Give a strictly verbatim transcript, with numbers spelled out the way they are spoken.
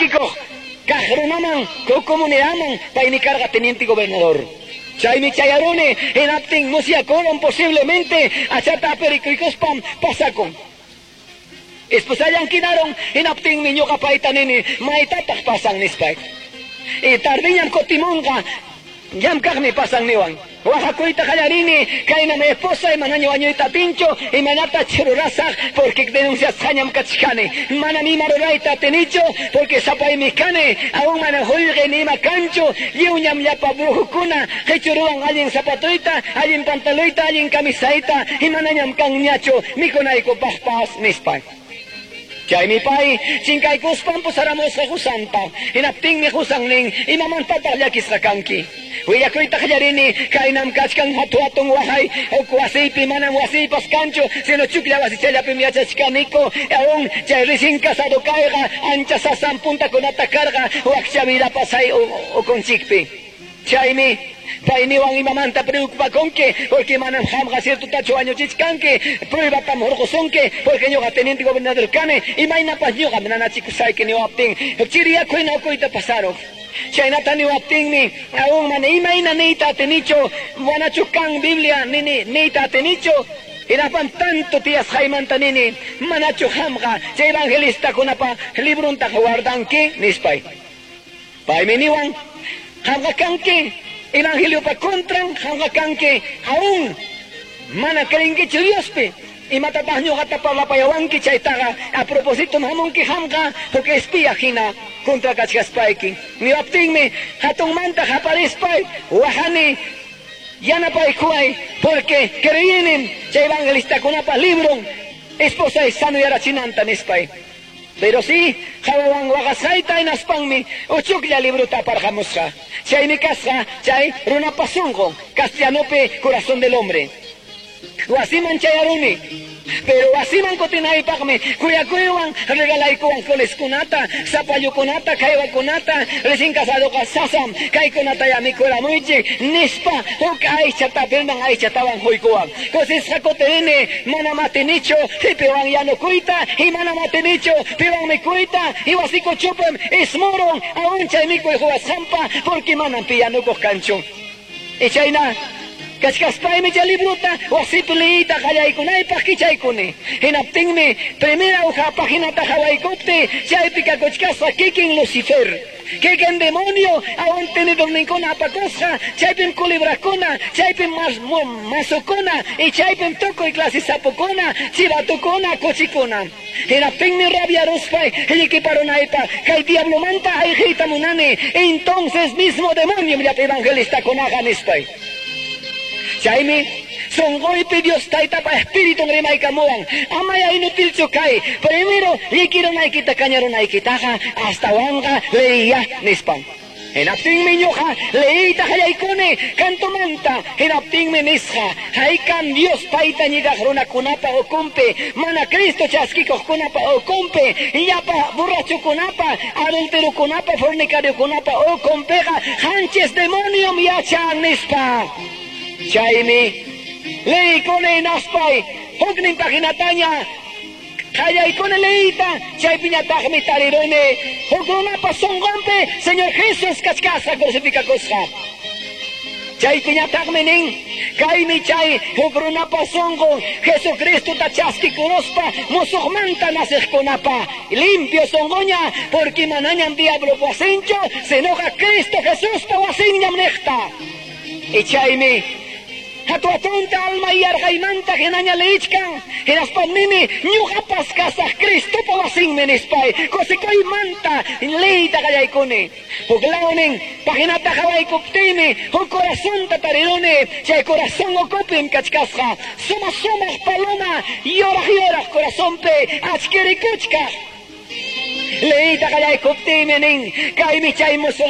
chaskikuq kaq runaman, comunidadman, paymi karqa teniente gobernador. Chaymi chayaruni, hinaptin musyakurun posiblemente achata aperikuykuspam pasakun. Esposallan kinaron, hinaptinmi ñuqa payta nini, maytataq pasan nispay. Y tardiñam kutimunqa, llamkaqmi pasan niwan. Waqakuyta qallarini, kaynam esposa manaña wañuyta atinchu, imaynata chururasaq, porque denunciasqañam kachkani. Manam ima rurayta atinichu, porque sapaymi kani, aún mana qullqi ni ima kanchu, lliwñam llapa brujukuna, qichuruwan allin zapatuyta, allin pantaluyta, allin camisayta, y manañam kanñachu mikunaykupaqpas nispa. Chaymi pay chinkaykuspan pusaramusqa qusanta, hinaptinmi qusan nin, imamantataq llakisqa kanki. Willakuyta qallarini, kaynam kachkan hatu hatun waqay, huk wasiypi manam wasiypas kanchu, sino chuklla wasichallapim yachachkaniku, aún chay recién casado kayqa, ancha sasam puntakunata karqa, wakcha vida pasay ukunchikpi. Chaymi payniwan imamanta preocupakunki, porque manam qamqa ciertotachu wañuchichkanki, pruebatam hurqusunki, porque ñuqa teniente gobernador kani, imaynapas ñuqa nanachikusayki niwaptin, chiriyakuyna ukuyta pasaruq. Chaynata niwaptinmi, aún mana imayna niyta atinichu, wanachu kan Biblia nini niyta atinichu, hinaspan tanto tiyasqaymanta nini, manachu qamqa chay evangelistakunapa libruntaqa guardanki nispay. Paymi niwan, qamqa kanki evangeliopa contran, qamqa kanki aún mana creenkichu Diospi, imatataq ñuqata parlapayawanki chaytaqa a propósito hamunki qamqa huk espía hina contra kachkaspayki. Niwaptinmi hatunmanta qaparispay waqani yanapaykuway, porque creínim chay evangelistakunapa libron esposay sanuyarachinanta nispay. Pero sí, qawawan waqasqayta hinaspanmi uchuklla libruta aparqamusqa. Chaymi kasqa chay runapa sunqun, castellanopi corazón del hombre. Wasiman chayaruni, pero wasiman kutinaypaqmi kuyakuywan regalaykuwan coleskunata, zapallukunata, kaywakunata, recién casadoqa sasam, kaykunata ya mikuramuychik nispa huk aychata pirman aychatawan huykuwan. Kusisqa kutirini, manam atinichu piwan yanukuyta, y manam atinichu piwan mikuyta, y wasikuchupim ismurun aún chay mikuy huwasqanpa, porque manam pi yanukuq kanchu. Y chayna kachkaspaymi chay libruta wasipi liyita qallaykunaypaq kichaykuni. Hinaptinmi primera hoja paginata hawaykupti chaypi kakuchkasqa kikin Lucifer, kikin demonio, aún tenedorninkuna apakusqa, chaypim culebrakuna, chaypim masukuna, y chaypim tukuy clase sapukuna, chivatukuna, kuchikuna. Hinaptinmi rabiaruspay llikiparunaypaq kay diablomanta ayqiyta munani, entonces mismo demonio llapa evangelistakunaqa nispay. Chaymi sunquypi Dios taytapa espiritun rimaykamuwan, amaya inutilchu kay, primero llikirunaykita kañarunaykitaqa astawanqa leyiya nispan. Hinaptinmi ñuqa leyita qallaykuni kantumanta, hinaptinmi nisqa, haykam Dios payta ñigaq runakunapa ukunpi, mana Cristo chaskikuqkunapa ukunpi, llapa borrachukunapa, adulterokunapa, fornicariokunapa ukunpiqa qanchis demoniom yachan nispa. Chaymi leykuni hinaspay huknin paginataña qallaykuni leyita, chaypiñataqmi tariruni huk runapa sunqunpi Señor Jesús kachkasqa crucificakusqa. Chaypiñataqmi nin, kaymi chay huk runapa sunqun Jesucristota chaskikuruspa musuqmanta nasiqkunapa limpio sunquña, porque manañam diablo wasinchu, sinoqa Cristo Jesuspa wasinñam niqta. Y chaymi hatu hatunta alma yarqaymanta hinaña leyichkan, hinaspan nini ñuqapas kasaq Cristopa wasinmi nispay, kusikuymanta leyta qallaykuni. Huk lawnin paginata hawaykuptiymi huk corazonta tariruni, chay corazón ukupim kachkasqa sumaq sumaq paloma yuraq yuraq corazonpi achkirikuchkaq. Leyta qallaykuptiymi nin, kaymi chay musuq